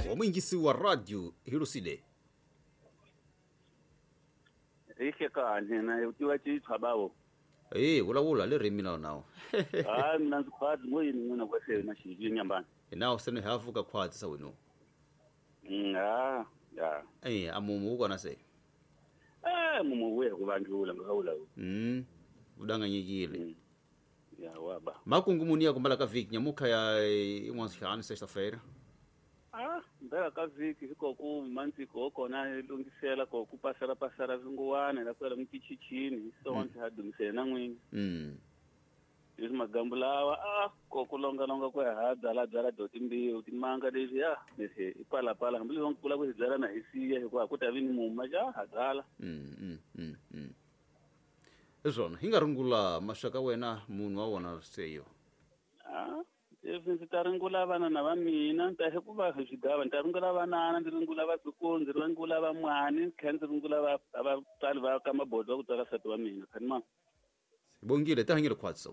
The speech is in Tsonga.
Wa muyingisi wa radio hi lusile. Hi hlekani na u tiva citshwa bawo. E vulavula le ririmi na nawo. Hayi, mina ndzi khwati ngo yini n'wina kwase na xivili nyambani. Nawo se ni hafu ka khwati sa wenu. Ha ya. E amumu kona se. Mumu wuye kuvanjula ngawula. Udanganyikile. Ya waba. Makungu muni ya kumbala ka vhiki nyamukha ya in'wana sexta-feira. Mbela ka vhiki hikoku mantsiko kona hi lunghisela ko ku pasela pasela vinguwana la kwela mutichichini so ndzi ha dumisela na n'wini. Leswi magambu lawa ko ku longa longa ku ha byala byala do timbiwu timanga leswi ya leswi i pala pala hambi leswi kula ku hi byala na hi siya hikuva ku ta vi ni muma ja ha byala. Hi swona hi nga rungula maxaka wena munhu wa wona seyo. Leswi ndzi ta ringula vanana va mina ta hikuva hi swigava ni ta ringula vanana, ndzi ringula vatukulu, ndzi ringula van'wani, ndzi tlhela ndzi ringula vatswari va ka mabodo va ku tswala nsati wa mina khani ma. Bongile ta hanyile khwatso.